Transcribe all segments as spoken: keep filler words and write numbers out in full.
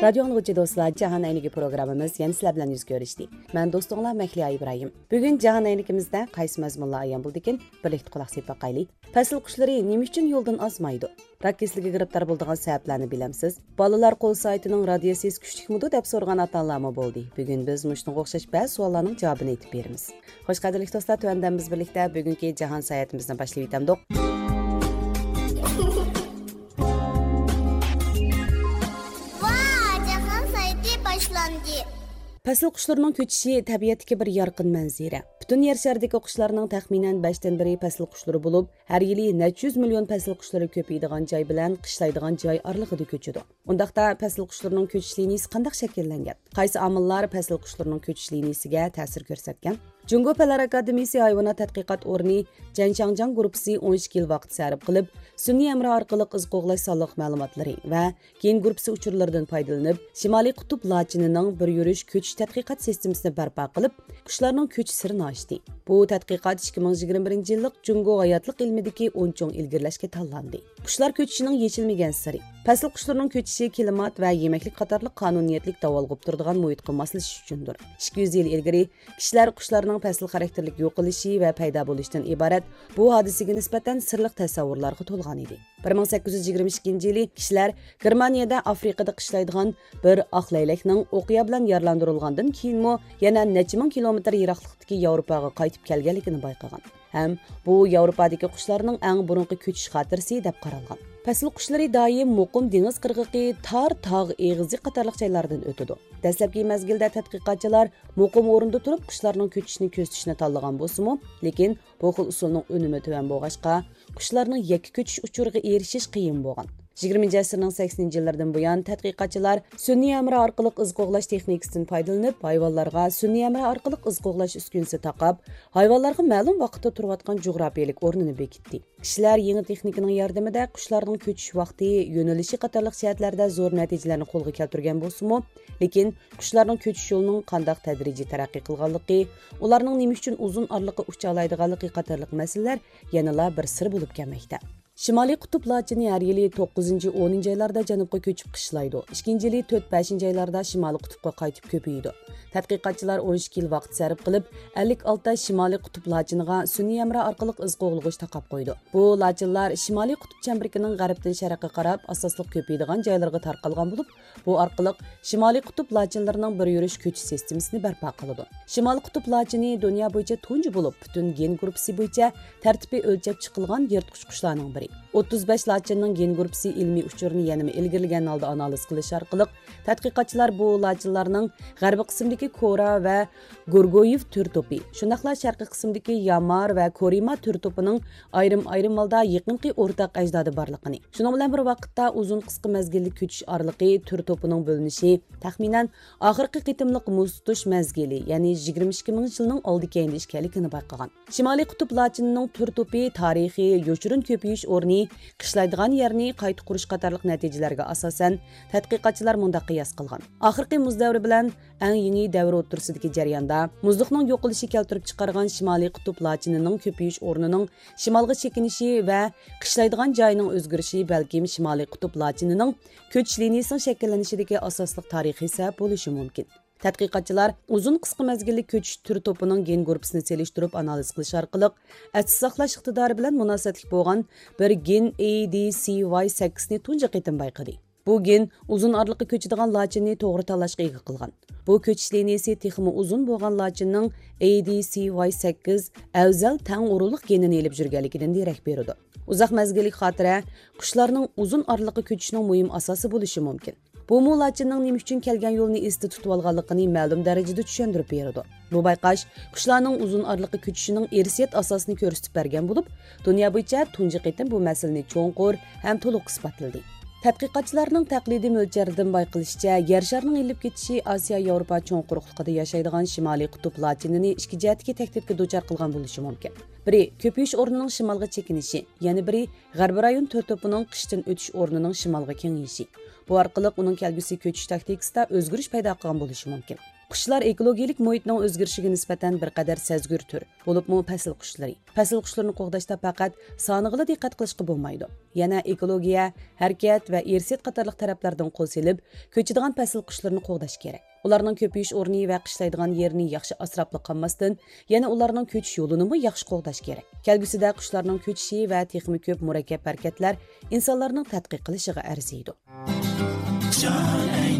رادىيو ئاڭلىغۇچى دوستلار، جاھان ئەينىكى پروگراممىمىز يەنە سىلەر بىلەن يۈز كۆرۈشتى. مەن دوستۇڭلار مەھلىيا ئىبراھىم. بۈگۈن جاھان ئەينىكىمىزدە قايسى مەزمۇنلار ئايان بولىدىكىن، بىرلىكتە قۇلاق سېلىپ باقايلى. پەسىل قۇشلىرى نېمە ئۈچۈن يولدىن ئازمايدۇ؟ راك كېسىلىگە گىرىپتار بولىدىغان سەۋەبلەرنى بىلەمسىز؟ بالىلار قول سائىتىنىڭ رادىيەسىيىسى كۈچلۈكمىدۇ دەپ سورىغان ئاتا-ئانىلارمۇ بولدى. بۈگۈن بىز مۇشۇنىڭغا ئوخشاش بەزى سوئاللارنىڭ جاۋابىنى ئېيتىپ بېرىمىز. خوش، قەدىرلىك دوستلار، تۆۋەندە بىز بىرلىكتە بۈگۈنكى جاھان ساياھىتىمىزنى باشلىۋېتەمدۇق. ۋا، جاھان ساياھىتى باشلاندى. پەسىل قۇشلىرىنىڭ كۆچۈشى تەبىئەتتىكى بىر يارقىن مەنزىرە. پۈتۈن يەر شارىدىكى قۇشلارنىڭ تەخمىنەن بەشتىن بىرى پەسىل قۇشلىرى بولۇپ، ھەر يىلى نەچچە يۈز مىليون پەسىل قۇشلىرى كۆپىيىدىغان جاي بىلەن قىشلايدىغان جاي ئارىلىقىدا كۆچىدۇ. ئۇنداقتا پەسىل قۇشلىرىنىڭ كۆچۈش لىنىيىسى قانداق شەكىللەنگەن؟ قايسى ئامىللار پەسىل قۇشلىرىنىڭ كۆچۈش لىنىيىسىگە تەسىر كۆرسەتكەن؟ جۇڭگو پەنلەر ئاكادېمىيىسى ھايۋانات تەتقىقات ئورنى جەنشاڭجياڭ گۇرۇپپىسى ئون ئىككى يىل ۋاقىت سەرپ قىلىپ، سۈنئىي ھەمراھ ئارقىلىق ئىز قوغلاش سانلىق مەلۇماتلىرى ۋە گېن گۇرۇپپىسى ئۇچۇرلىرىدىن پايدىلىنىپ، شىمالىي قۇتۇپ لاچىنىنىڭ بىر يۈرۈش كۆچۈش تەتقىقات سىستېمىسىنى بەرپا قىلىپ، قۇشلارنىڭ كۆچۈش سىرىنى ئاچتى. بۇ تەتقىقات ئىككى مىڭ يىگىرمە بىرىنچى يىللىق جۇڭگو ھاياتلىق ئىلمىدىكى ئون چوڭ ئىلگىرىلەشكە تاللاندى. قۇشلار كۆچۈشىنىڭ يېشىلمىگەن سىرى. پەسىل قۇشلىرىنىڭ كۆچۈشى كىلىمات ۋە يېمەكلىك قاتارلىق قانۇنىيەتلىك داۋالغۇپ تۇرىدىغان مۇھىتقا ماسلىشىش ئۈچۈندۇر. ئىككى يۈز يىل ئىلگىرى كىشىلەر قۇشلارنىڭ پەسىل خاراكتېرلىك يوقىلىشى ۋە پەيدا بولۇشىدىن ئىبارەت بۇ ھادىسىگە نىسبەتەن سىرلىق تەسەۋۋۇرلارغا تولغان ئىدى. بىر مىڭ سەككىز يۈز يىگىرمە ئىككىنچى يىلى كىشىلەر گېرمانىيەدە ئافرىقىدا قىشلايدىغان بىر ئاق لەيلەكنىڭ ئوقيا بىلەن يارىلاندۇرۇلغاندىن كېيىنمۇ يەنە نەچچە مىڭ كىلومېتىر يىراقلىقتىكى ياۋروپاغا قايتىپ كەلگەنلىكىنى بايقىغان ھەم بۇ ياۋروپادىكى قۇشلارنىڭ ئەڭ بۇرۇنقى كۆچۈش خاتىرىسى دەپ قارالغان. پەسىل قۇشلىرى دائىم مۇقىم دېڭىز قىرغىقى، تار تاغ ئېغىزى قاتارلىق جايلاردىن ئۆتىدۇ. دەسلەپكى مەزگىلدە تەتقىقاتچىلار مۇقىم ئورۇندا تۇرۇپ، قۇشلارنىڭ كۆچۈشىنى كۆزىتىشنى تاللىغان بولسىمۇ، لېكىن بۇ خىل ئۇسۇلنىڭ ئۈنۈمى تۆۋەن بولغاچقا، قۇشلارنىڭ يەككە كۆچۈش ئۇچۇرىغا ئېرىشىش قىيىن بولغان. يىگىرمىنچى ئەسىرنىڭ سەكسىنىنچى يىللىرىدىن بۇيان، تەتقىقاتچىلار سۈنئىي ھەمراھ ئارقىلىق ئىز قوغلاش تېخنىكىسىدىن پايدىلىنىپ، ھايۋانلارغا سۈنئىي ھەمراھ ئارقىلىق ئىز قوغلاش ئۈسكۈنىسى تاقاپ، ھايۋانلارغا مەلۇم ۋاقىتتا تۇرۇۋاتقان جۇغراپىيەلىك ئورنىنى بېكىتتى. كىشىلەر يېڭى تېخنىكىنىڭ ياردىمىدە قۇشلارنىڭ كۆچۈش ۋاقتى، يۆنىلىشى قاتارلىق جەھەتلەردە زور نەتىجىلەرنى قولغا كەلتۈرگەن بولسىمۇ، لېكىن قۇشلارنىڭ كۆچۈش يولىنىڭ قانداق تەدرىجىي تەرەققىي قىلغانلىقى، ئۇلارنىڭ نېمە ئۈچۈن ئۇزۇن ئارىلىققا ئۇچالايدىغانلىقى قاتارلىق مەسىلىلەر يەنىلا بىر سىر بولۇپ كەلمەكتە. شىمالىي قۇتۇپ لاچىنى ھەر يىلى توققۇزىنچى، ئونىنچى ئايلاردا جەنۇبقا كۆچۈپ قىشلايدۇ. ئىككىنچى يىلى تۆت، بەشىنچى ئايلاردا شىمالىي قۇتۇپقا قايتىپ كۆپىيىدۇ. تەتقىقاتچىلار ئون ئىككى يىل ۋاقىت سەرپ قىلىپ، ئەللىك ئالتە شىمالىي قۇتۇپ لاچىنىغا سۈنئىي ھەمراھ ئارقىلىق ئىز قوغلىغۇچ تاقاپ قويدى. بۇ لاچىنلار شىمالىي قۇتۇپ چەمبىرىكىنىڭ غەربتىن شەرققە قاراپ ئاساسلىق كۆپىيىدىغان جايلىرىغا تارقالغان بولۇپ، بۇ ئارقىلىق شىمالىي قۇتۇپ لاچىنلىرىنىڭ بىر يۈرۈش كۆچۈش سىستېمىسىنى بەرپا قىلىدۇ. شىمالىي قۇتۇپ لاچىنى دۇنيا بويىچە تۇنجى بولۇپ، پۈتۈن گېن گۇرۇپپىسى بويىچە تەرتىپى ئۆلچەپ چىقىلغان يىرتقۇچ قۇشلارنىڭ بىرى. ئوتتۇز بەش لاچىننىڭ گېن گۇرۇپپىسى ئىلمىي ئۇچۇرىنى يەنىمۇ ئىلگىرىلىگەن ھالدا ئانالىز قىلىش ئارقىلىق، تەتقىقاتچىلار بۇ لاچىنلارنىڭ غەربىي قىسىمدىكى كورا ۋە گورگويېۋ تۈر توپى، شۇنداقلا شەرقىي قىسىمدىكى يامار ۋە كورىما تۈر توپىنىڭ ئايرىم-ئايرىم ھالدا يېقىنقى ئورتاق ئەجدادى بارلىقىنى، شۇنىڭ بىلەن بىر ۋاقىتتا ئۇزۇن قىسقا مەزگىللىك كۆچۈش ئارىلىقى تۈر توپىنىڭ بۆلۈنۈشى تەخمىنەن ئاخىرقى قېتىملىق مۇز تۇتۇش مەزگىلى، يەنى يىگىرمە ئىككى مىڭ يىلنىڭ ئالدى كەينىدە ئىكەنلىكىنى بايقىغان. شىمالىي قۇتۇپ لاچىنىنىڭ تۈر توپى تارىخى، يوشۇرۇن كۆپىيىش ئورنى، قىشلايدىغان يەرنى قايتا قۇرۇش قاتارلىق نەتىجىلەرگە ئاساسەن، تەتقىقاتچىلار مۇنداق قىياس قىلغان: ئاخىرقى مۇز دەۋرى بىلەن ئەڭ يېڭى دەۋر ئوتتۇرىسىدىكى جەرياندا، مۇزلۇقنىڭ يوقىلىشى كەلتۈرۈپ چىقارغان شىمالىي قۇتۇپ لاچىنىنىڭ كۆپىيىش ئورنىنىڭ شىمالغا چېكىنىشى ۋە قىشلايدىغان جايىنىڭ ئۆزگىرىشى بەلكىم شىمالىي قۇتۇپ لاچىنىنىڭ كۆچۈش لىنىيىسىنىڭ شەكىللىنىشىدىكى ئاساسلىق تارىخىي سەۋەب بولۇشى مۇمكىن. تەتقىقاتچىلار ئۇزۇن قىسقا مەزگىللىك كۆچۈش تۈر توپىنىڭ گېن گۇرۇپپىسىنى سېلىشتۇرۇپ ئانالىز قىلىش ئارقىلىق، ئەستە ساقلاش ئىقتىدارى بىلەن مۇناسىۋەتلىك بولغان بىر گېن ئەي دى سى ۋاي سەككىزنى تۇنجى قېتىم بايقىدى. بۇ گېن ئۇزۇن ئارىلىققا كۆچىدىغان لاچىننى توغرا تاللاشقا ئىگە قىلغان. بۇ كۆچۈش لىنىيىسى تېخىمۇ ئۇزۇن بولغان لاچىننىڭ ئەي دى سى ۋاي سەككىز ئەۋزەل تەڭ ئورۇنلۇق گېنىنى ئېلىپ يۈرگەنلىكىدىن دېرەك بېرىدۇ. ئۇزاق مەزگىللىك خاتىرە قۇشلارنىڭ ئۇزۇن ئارىلىققا كۆچۈشىنىڭ مۇھىم ئاساسى بولۇشى مۇمكىن. بۇمۇ لاچىننىڭ نېمە ئۈچۈن كەلگەن يولىنى ئېستە تۇتۇۋالغانلىقىنى مەلۇم دەرىجىدە چۈشەندۈرۈپ بېرىدۇ. بۇ بايقاش قۇشلارنىڭ ئۇزۇن ئارىلىققا كۆچۈشىنىڭ ئىرسىيەت ئاساسىنى كۆرسىتىپ بەرگەن بولۇپ، دۇنيا بويىچە تۇنجى قېتىم بۇ مەسىلىنى چوڭقۇر ھەم تولۇق ئىسپاتلىدى. تەتقىقاتچىلارنىڭ تەقلىدىي مۆلچەردىن بايقىلىشىچە، يەر شارىنىڭ ئېلىپ كېتىشى ئاسىيا ياۋروپا چوڭ قۇرۇقلۇقىدا ياشايدىغان شىمالىي قۇتۇپ لاچىنىنى ئىككى جەھەتتىكى تەھدىتكە دۇچار قىلغان بولۇشى مۇمكىن. بىرى، كۆپىيىش ئورنىنىڭ شىمالغا چېكىنىشى، يەنە بىرى، غەربىي رايون تۈر توپىنىڭ قىشتىن ئۆتۈش ئورنىنىڭ شىمالغا كېڭىيىشى. بۇ ئارقىلىق ئۇنىڭ كەلگۈسى كۆچۈش تاكتىكىسىدا ئۆزگىرىش پەيدا قىلغان بولۇشى مۇمكىن. قۇشلار ئېكولوگىيەلىك مۇھىتنىڭ ئۆزگىرىشىگە نىسبەتەن بىر قەدەر سەزگۈر تۈر، بولۇپمۇ پەسىل قۇشلىرى. پەسىل قۇشلىرىنى قوغداشتا پەقەت سانىغىلا دىققەت قىلىشقا بولمايدۇ. يەنە ئېكولوگىيە، ھەرىكەت ۋە ئىرسىيەت قاتارلىق تەرەپلەردىن قول سېلىپ، كۆچىدىغان پەسىل قۇشلىرىنى قوغداش كېرەك. ئۇلارنىڭ كۆپىيىش ئورنى ۋە قىشلايدىغان يېرىنى ياخشى ئاسراپلا قالماستىن، يەنە ئۇلارنىڭ كۆچۈش يولىنىمۇ ياخشى قوغداش كېرەك. كەلگۈسىدە قۇشلارنىڭ كۆچۈشى ۋە تېخىمۇ كۆپ مۇرەككەپ ھەرىكەتلەر ئىنسانلارنىڭ تەتقىق قىلىشىغا ئەرزىيدۇ.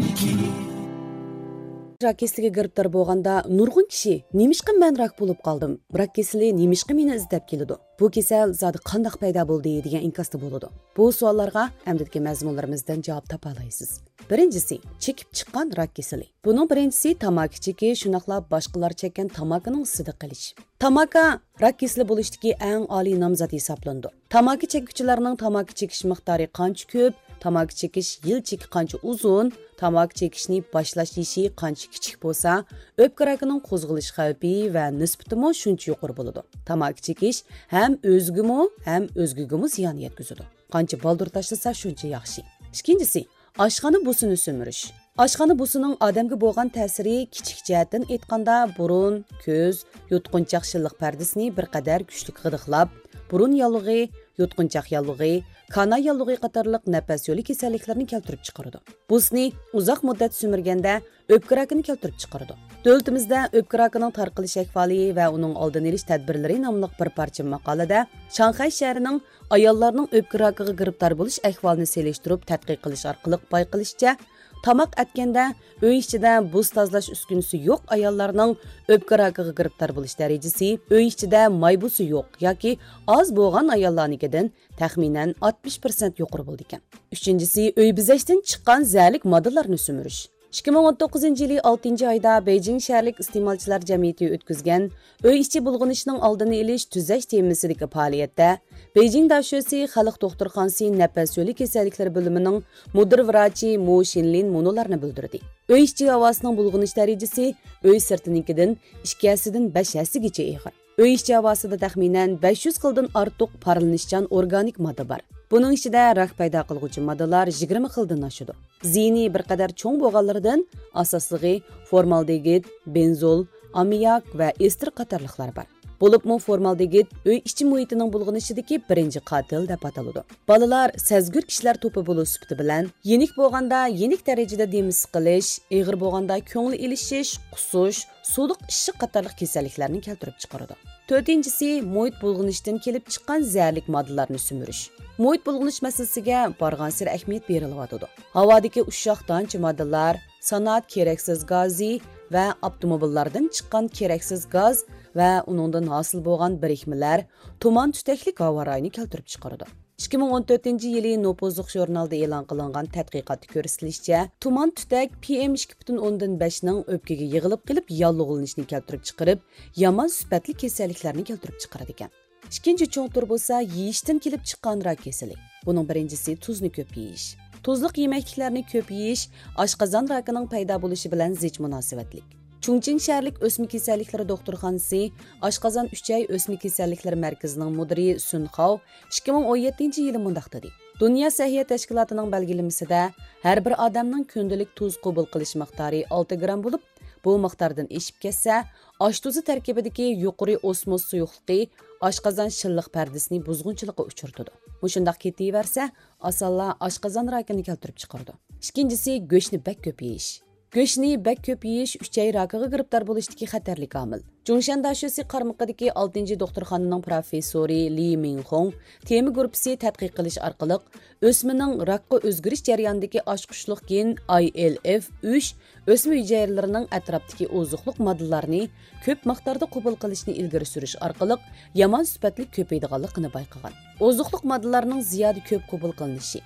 راك كېسىلىگە گىرىپتار بولغاندا نۇرغۇن كىشى، «نېمىشقا مەن راك بولۇپ قالدىم؟ راك كېسىلى نېمىشقا مېنى ئىزدەپ كېلىدۇ؟ بۇ كېسەل زادى قانداق پەيدا بولدى؟» دېگەن ئىنكاستا بولىدۇ. بۇ سوئاللارغا ئەمدىكى مەزمۇنلىرىمىزدىن جاۋاب تاپالايسىز. بىرىنچىسى، چېكىپ چىققان راك كېسىلى. بۇنىڭ بىرىنچىسى تاماكا چېكىش، شۇنداقلا باشقىلار چەككەن تاماكىنىڭ ئىسىدا قېلىش. تاماكا راك كېسىلى بولۇشتىكى ئەڭ ئالىي نامزات ھېسابلىنىدۇ. تاماكا چەككۈچىلەرنىڭ تاماكا چېكىش مىقدارى قانچە كۆپ، تاماكا چېكىش يىل چېكى قانچە ئۇزۇن، تاماكا چېكىشنى باشلاش يېشى قانچە كىچىك بولسا، ئۆپكە راكىنىڭ قوزغىلىش خەۋپى ۋە نىسبىتىمۇ شۇنچە يۇقىرى بولىدۇ. تاماكا چېكىش ھەم ئۆزىگىمۇ، ھەم ئۆزگىگىمۇ زىيان يەتكۈزىدۇ. قانچە بالدۇر تاشلىسا، شۇنچە ياخشى. ئىككىنچىسى، ئاشخانا بۇسىنى سۈمۈرۈش. ئاشخانا بۇسىنىڭ ئادەمگە بولغان تەسىرى، كىچىك جەھەتتىن ئېيتقاندا، بۇرۇن، كۆز، يۇتقۇنچاق شىللىق پەردىسىنى بىر قەدەر كۈچلۈك غىدىقلاپ، بۇرۇن ياللۇغى، يۇتقۇنچاق ياللۇغى، كانا ياللۇغى قاتارلىق نەپەس يولى كېسەللىكلىرىنى كەلتۈرۈپ چىقىرىدۇ. بۇسنى ئۇزاق مۇددەت سۈمۈرگەندە ئۆپكە راكىنى كەلتۈرۈپ چىقىرىدۇ. دۆلىتىمىزدە ئۆپكە راكىنىڭ تارقىلىش ئەھۋالى ۋە ئۇنىڭ ئالدىنى ئېلىش تەدبىرلىرى ناملىق بىر پارچە ماقالىدە شاڭخەي شەھىرىنىڭ ئاياللارنىڭ ئۆپكە راكىغا گىرىپتار بولۇش ئەھۋالىنى سېلىشتۇرۇپ تەتقىق قىلىش ئارقىلىق بايقىلىشىچە، تاماق ئەتكەندە ئۆي ئىچىدە بۇس تازىلاش ئۈسكۈنىسى يوق ئاياللارنىڭ ئۆپكە راكىغا گىرىپتار بولۇش دەرىجىسى ئۆي ئىچىدە ماي بۇسى يوق ياكى ئاز بولغان ئاياللارنىڭكىدىن تەخمىنەن ئاتمىش پىرسەنت يۇقىرى بولىدىكەن. ئۈچىنچىسى، ئۆي بېزەشتىن چىققان زەھەرلىك ماددىلارنى سۈمۈرۈش. ئىككى مىڭ ئون توققۇزىنچى يىلى ئالتىنچى ئايدا بېيجىڭ شەھەرلىك ئىستېمالچىلار جەمئىيىتى ئۆتكۈزگەن ئۆي ئىچى بۇلغىنىشنىڭ ئالدىنى ئېلىش، تۈزەش تېمىسىدىكى پائالىيەتتە بېيجىڭ داشۆسى خەلق دوختۇرخانىسى نەپەس يولى كېسەللىكلىرى بۆلۈمىنىڭ مۇدىر ۋراچى مو شىنلىن مۇنۇلارنى بىلدۈردى: ئۆي ئىچى ھاۋاسىنىڭ بۇلغىنىش دەرىجىسى ئۆي سىرتىنىڭكىدىن ئىككى ھەسسىدىن بەش ھەسسىگىچە ئېغىر. ئۆي ئىچى ھاۋاسىدا تەخمىنەن بەش يۈز خىلدىن ئارتۇق پارلىنىشچان ئورگانىك ماددا بار. بۇنىڭ ئىچىدە راك پەيدا قىلغۇچى ماددىلار يىگىرمە خىلدىن ئاشىدۇ. زىيىنى بىر قەدەر چوڭ بولغانلىرىدىن ئاساسلىقى فورمالدېگىد، بېنزول، ئاممىياك ۋە ئېستېر قاتارلىقلار بار. بولۇپمۇ فورمالدېگىد ئۆي ئىچى مۇھىتىنىڭ بۇلغىنىشىدىكى بىرىنچى قاتىل دەپ ئاتىلىدۇ. بالىلار سەزگۈر كىشىلەر توپى بولۇش سۈپىتى بىلەن يېنىك بولغاندا يېنىك دەرىجىدە دېمى سىقىلىش، ئېغىر بولغاندا كۆڭلى ئېلىشىش، قۇسۇش، سۇلۇق ئىششىق قاتارلىق كېسەللىكلەرنى كەلتۈرۈپ چىقىرىدۇ. تۆتىنچىسى، مۇھىت بۇلغىنىشتىن كېلىپ چىققان زەھەرلىك ماددىلارنى سۈمۈرۈش. مۇھىت بۇلغىنىش مەسىلىسىگە بارغانسېرى ئەھمىيەت بېرىلىۋاتىدۇ. ھاۋادىكى ئۇششاق دانچە ماددىلار، سانائەت كېرەكسىز گازى ۋە ئاپتوموبىللاردىن چىققان كېرەكسىز گاز ۋە ئۇنىڭدىن ھاسىل بولغان بىرىكمىلەر تۇمان تۈتەكلىك ھاۋا رايىنى كەلتۈرۈپ چىقىرىدۇ. ئىككى مىڭ ئون تۆتىنچى يىلى نوپۇزلۇق ژۇرنالدا ئېلان قىلىنغان تەتقىقاتتا كۆرسىتىلىشىچە، تۇمان تۈتەك پى ئېم ئىككى پۈتۈن ئوندىن بەشنىڭ ئۆپكىگە يىغىلىپ قېلىپ ياللۇغلىنىشنى كەلتۈرۈپ چىقىرىپ، يامان سۈپەتلىك كېسەللىكلەرنى كەلتۈرۈپ چىقىرىدىكەن. ئىككىنچى چوڭ تۈر بولسا يېيىشتىن كېلىپ چىققان راك كېسىلى. بۇنىڭ بىرىنچىسى تۇزنى كۆپ يېيىش. تۇزلۇق يېمەكلىكلەرنى كۆپ يېيىش ئاشقازان راكىنىڭ پەيدا بولۇشى بىلەن زىچ مۇناسىۋەتلىك. چۇڭچىڭ شەھەرلىك ئۆسمە كېسەللىكلىرى دوختۇرخانىسى ئاشقازان ئۈچەي ئۆسمە كېسەللىكلىرى مەركىزىنىڭ مۇدىرى سۈن خاۋ ئىككى مىڭ ئون يەتتىنچى يىلى مۇنداق دېدى: دۇنيا سەھىيە تەشكىلاتىنىڭ بەلگىلىمىسىدە، ھەر بىر ئادەمنىڭ كۈندىلىك تۇز قوبۇل قىلىش مىقدارى ئالتە گرام بولۇپ، بۇ مىقداردىن ئېشىپ كەتسە، ئاش تۇزى تەركىبىدىكى يۇقىرى ئوسموس سۇيۇقلۇقى ئاشقازان شىللىق پەردىسىنى بۇزغۇنچىلىققا ئۇچرىتىدۇ. مۇشۇنداق كېتىۋەرسە، ئاسانلا ئاشقازان راكىنى كەلتۈرۈپ چىقىرىدۇ. ئىككىنچىسى، گۆشنى بەك كۆپ يېيىش. گۆشنى بەك كۆپ يېيىش ئۈچەي راكىغا گىرىپتار بولۇشتىكى خەتەرلىك ئامىل. جۇڭشەن داشۆسى قارمىقىدىكى ئالتىنچى دوختۇرخانىنىڭ پروفېسسورى لى مىڭخۇڭ تېما گۇرۇپپىسى تەتقىق قىلىش ئارقىلىق، ئۆسمىنىڭ راكقا ئۆزگىرىش جەريانىدىكى ئاچقۇچلۇق گېن ئاي ئېل ئېف ئۈچ ئۆسمە ھۈجەيرىلىرىنىڭ ئەتراپتىكى ئوزۇقلۇق ماددىلارنى كۆپ مىقداردا قوبۇل قىلىشنى ئىلگىرى سۈرۈش ئارقىلىق يامان سۈپەتلىك كۆپىيىدىغانلىقىنى بايقىغان. ئوزۇقلۇق ماددىلارنىڭ زىيادە كۆپ قوبۇل قىلىنىشى،